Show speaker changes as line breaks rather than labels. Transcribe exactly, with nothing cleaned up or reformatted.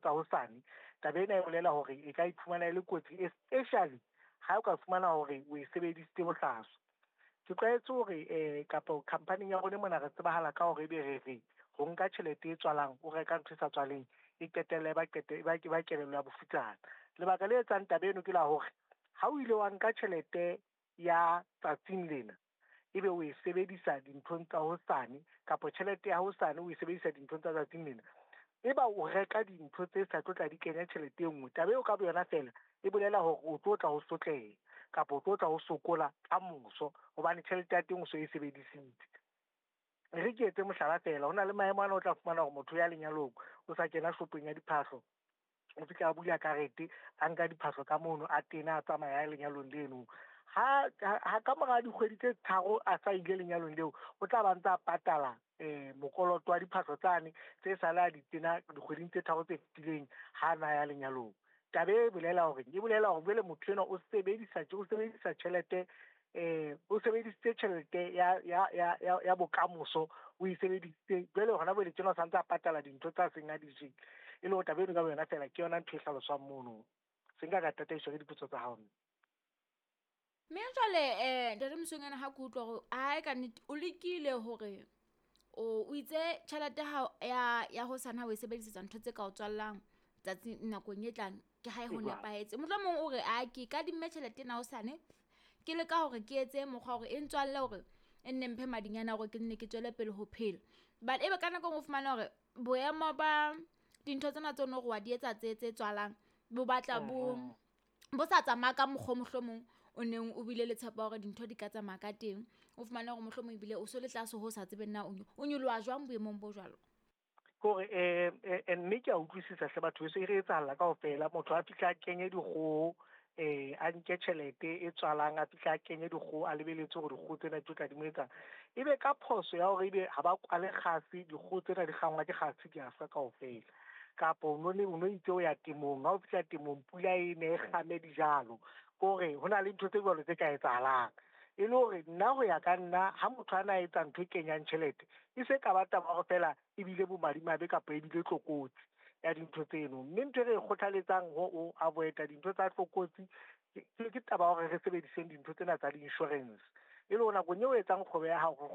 tsa hosane. Taba ena e bolela hore e ka iphumana e le kotsi, especially ha o ka fumana hore o e sebedisitse bohlaswa. Ke tlwaetse hore um kapa khampaning ya rona mona re tsebahala ka hore ebe re re ho nka tjhelete e tswalang, o reka ntho e sa tswaleng, e qetella e ba e ba e ba kelello ya bofutsana. Lebaka le etsang taba eno ke la hore ha o ile wa nka tjhelete ya tsatsing lena, ebe o e sebedisa dinthong tsa hosane kapa tjhelete ya hosane o e sebedisa dinthong tsa tsatsing lena, eba o reka dintho tse sa tlo tla di kenya tjhelete e nngwe. Taba eo ka boyona feela e bolela hore o tlo tla o sotleha kapa o tlo tla o sokola kamoso hobane tjhelete ya teng o so e sebedisitse. E re ke etse mohlala feela, ho na le maemo ana o tla fumana hore motho ya lenyalong o sa kena shopong ya diphahlo, o fihla a bula karete, a nka diphahlo ka mono, a tena a tsamaya a lenyalong leno. Ha ha ka mora dikgwedi tse tharo a sa ile lenyalong leo, o tla ba ntse a patala um mokoloto wa diphahlo tsane tse sale a di tena dikgweding tse tharo tse fetileng ha na ya lenyalong. Taba e bolela hore e bolela hore jwale motho enwa o sebedisa o sebedisa tjhelete eh o sebedisitse tjhelete ya ya ya ya ya bokamoso, o e sebedisitse jwale hona jwale tjena o santse a patala dintho tsa seng a di jele. E le hore taba eno ka boyona feela ke yona ntho e hlaloswang mono. Se nka ka tataiswa ke dipotso tsa hao.
Mme jwale um ntate Mosweunyana, ha ke utlwa hore ae ka nnete o lekile hore o o itse tjhelete hao ya ya hosane ha o e sebedisetsa ntho tse ka o tswallang tsatsi nakong e tlang, ke hae ho nepahetse. Mohlomong o re a ke kadimme tjhelete ena hosane, ke leka hore ke etse mokgwa hore e ntswalle hore e nne mphe madinyana hore ke nne ke tswele pele ho phela. But ebe ka nako e nngwe o fumana hore boemo ba dintho tsena tse no re wa di etsa tse tse tswalang bo batla bo bo sa tsamaya ka mokgwa o mohlomong o neng o bile le tshepo ya hore dintho di ka tsamaya ka teng. O fumane hore mohlomong ebile o so le tlase ho sa tsebeng na o nyoloha jwang boemong bo jwalo.
Ke hore um mme ke a utlwisisa hle batho heso, e re etsahala kaofela. Motho a fihla a kenye dikgoho, eh a nke tjhelete e tswalang, a fihla a kenye dikgoho, a lebeletse hore dikgoho tsena di tlo tla di mo etsang. Ebe ka phoso ya hore ebe ha ba kwale kgase, dikgoho tsena di kgangwa ke kgase di a shwa kaofela. Kapa o no o no itse o ya temong, ha o fihla temong pula e ne e kgame dijalo. Ke hore ho na le ntho tse jwalo tse ka etsahalang. E le hore nna ho ya ka nna ha motho a na etsa ntho e kenyang tjhelete, e se ka ba taba hore feela ebile bomadimabe kapa ebile tlokotsi ya dintho tseno. Mme ntho e re e kgothaletsang ho o avoid-a dintho tsa tlokotsi ke ke taba ya hore re sebediseng dintho tsena tsa di-insurance. E le hore nakong eo o etsang kgwebo ya hao, re